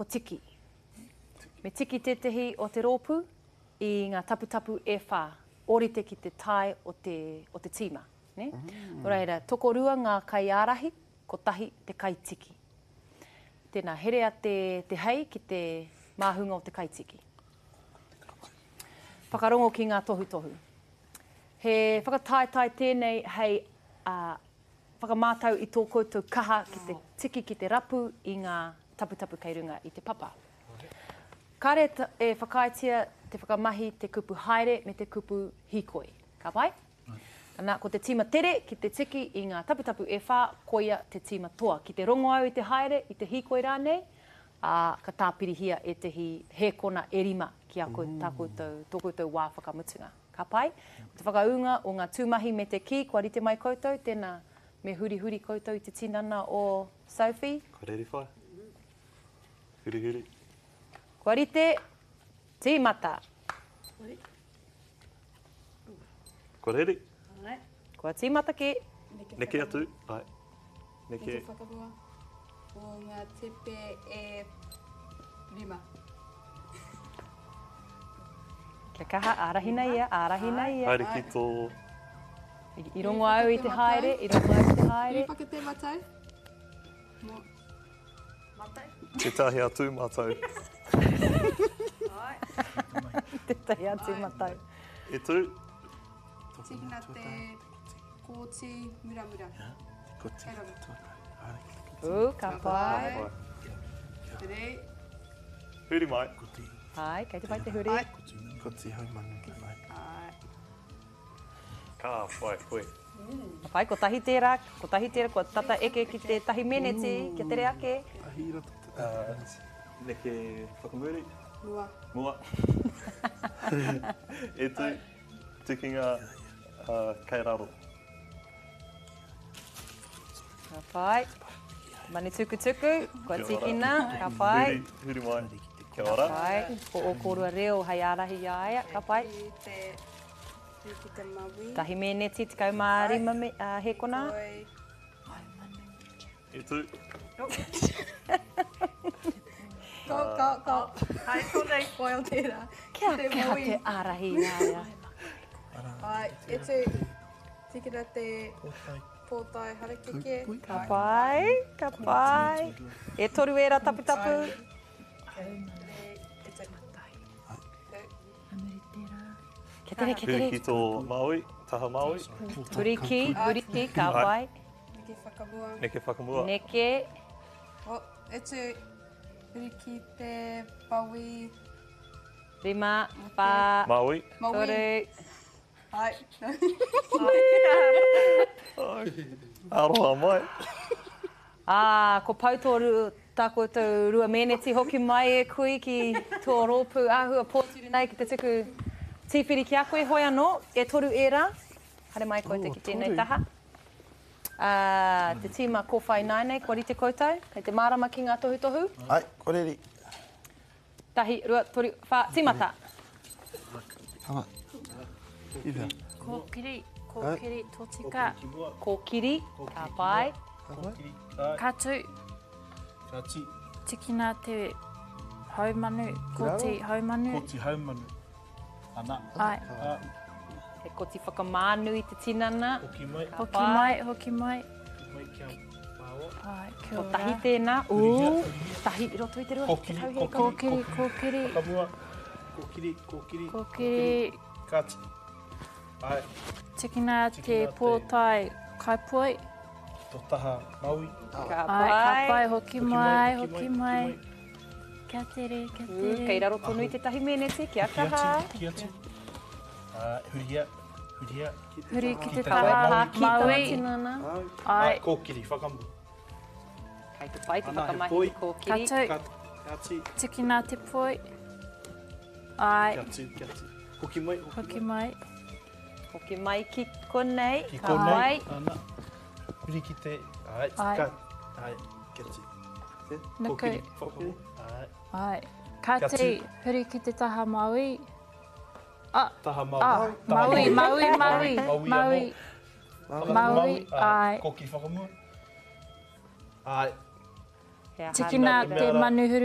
ko Tiki. Me tiki tētehi o te rōpū i ngā taputapu e whā, ōrite ki te tae o te, o te tīma. Nē? Mm. Nō reira, tokorua ngā kaiārahi, kotahi te kaitiki. Tēnā, herea te, te hei ki te māhunga o te kaitiki. Whakarongo ki ngā tohutohu. He whakataetae tēnei hei uh, whakamātau i tō koutou kaha ki te tiki ki te rapu i ngā taputapu kei runga i te papa. Kāre e whakaaetia te whakamahi te kupu haere me te kupu hīkoi. Ka pai? Ana, ko te tīma tere ki te tiki i ngā taputapu e whā, koia te tīma toa. Ki te rongo au i te haere, i te hīkoi rānei, ā, ka tāpirihia ētehi hēkona e rima ki a koutou, tā koutou, tō koutou wā whakamutunga. Ka pai? Ko te whakaūnga o ngā tūmahi me te kī, kua rite mai koutou, tēnā, me hurihuri koutou i te tinana o Sophie. Kua reri whai. Hurihuri. Kua rite, tīmata. Kua reri. Kua tīmata kē. Neke atu, ai. Neke. Neke whakamua o ngā tepe e rima. Kia kaha, ārahina ia, ārahina ia. Haere ki tō... I rongo au i te haere, i rongo au i te haere. Huri whakate matau. Mo. Matau. Tētahi atu matau. Tētahi atu matau. E tū. Tīkina te kōti muramura. Te koti te tuatahi. Ū, ka pai. Rei. Huri mai. Ai, kei te pai te huri. Koti haumanu. Ai. Ka pai koe. Ka pai, kotahi tērā, kotahi tērā, kua tata eke ki te tahi meneti, kia tere ake. Tahi i roto te tahi meneti. Neke whakamuri. Mua. Mua. E tū. Tikinga kei raro. Ka pai. Manu tukutuku, kua tīkina, ka pai. Huri, huri mai. Kia ora. Ka pai. Ko ō kōrua reo hei ārahi i a ia, ka pai. Huri ki te maui. Tahi mēneti, 15 me, uh, hēkona. E tū. Ko, ko, ko. Hai konei koe o tērā. Kia kaha te ārahi i a ia. Ai, e tū. Tīkina te pōtae harakeke. Ka pai, ka pai. E toru ērā taputapu. Kia tere, kia tere. Huri ki tō Māui, taha Māui. Huri ki, huri ki, ka pai. Neke whakamua. Neke whakamua. Neke. Oh, e tū. Huri ki te paui. Rima, whā, Māui. toru. Ai. Aroha mai. Ā, ko pau tō tā koutou rua mēneti hoki mai e kui ki tō rōpū āhua pōturi nei ki te tuku tīwhiri ki a koe, hoi anō, e toru ērā. Haere mai koutou ki tēnei taha. Ā, te tīma kōwhai nāianei, kua rite koutou? Kei te mārama ki ngā tohutohu? Ai, kua reri. Tahi, rua, toru, whā, tīmata! Kōkiri, kōkiri, tōtika. Kōkiri, ka pai. Ka tū. Ka tī. Tikina te haumanu, koti haumanu. Koti haumanu. Ana. Ai. He koti whakamānu i te tinana. Hoki mai. Hoki mai, hoki mai. Hoki mai kia māua. Ai, kia ora. Kotahi tēnā. Ū, tahi i roto i te rua. Kōkiri, kōkiri, kōkiri. Whakamua. Kōkiri, kōkiri. Kōkiri. Kāti. Ai. Tikina te pōtae kaipoi. Tō taha Maui. Ka pai. Ai, ka pai, hoki mai, hoki mai. Kia tere, kia tere. Kei raro tonu i tētahi meneti, kia kaha. Hoki atu, hoki atu. Hurihia, hurihia. Huri ki te taha Maui. Ai. Kōkiri, whakamua. Kei te pai te whakamahi te kōkiri. Ka tū. Ka tū. Tikina te poi. Ai. Kia tū, kia tū. Hoki mai, hoki mai. Hoki mai ki konei. Ki konei. Ana. Huri ki te, ai, ka, ai, kia tū. Nuku. Kōkiri, ai. Ai. Ka tū, huri ki te taha Maui. Ah, Taha Maui. Ah, Maui, Maui, Maui, Maui. Maui, ai. Kōkiri whakamua. Ai. Tikina te manu huruhuru.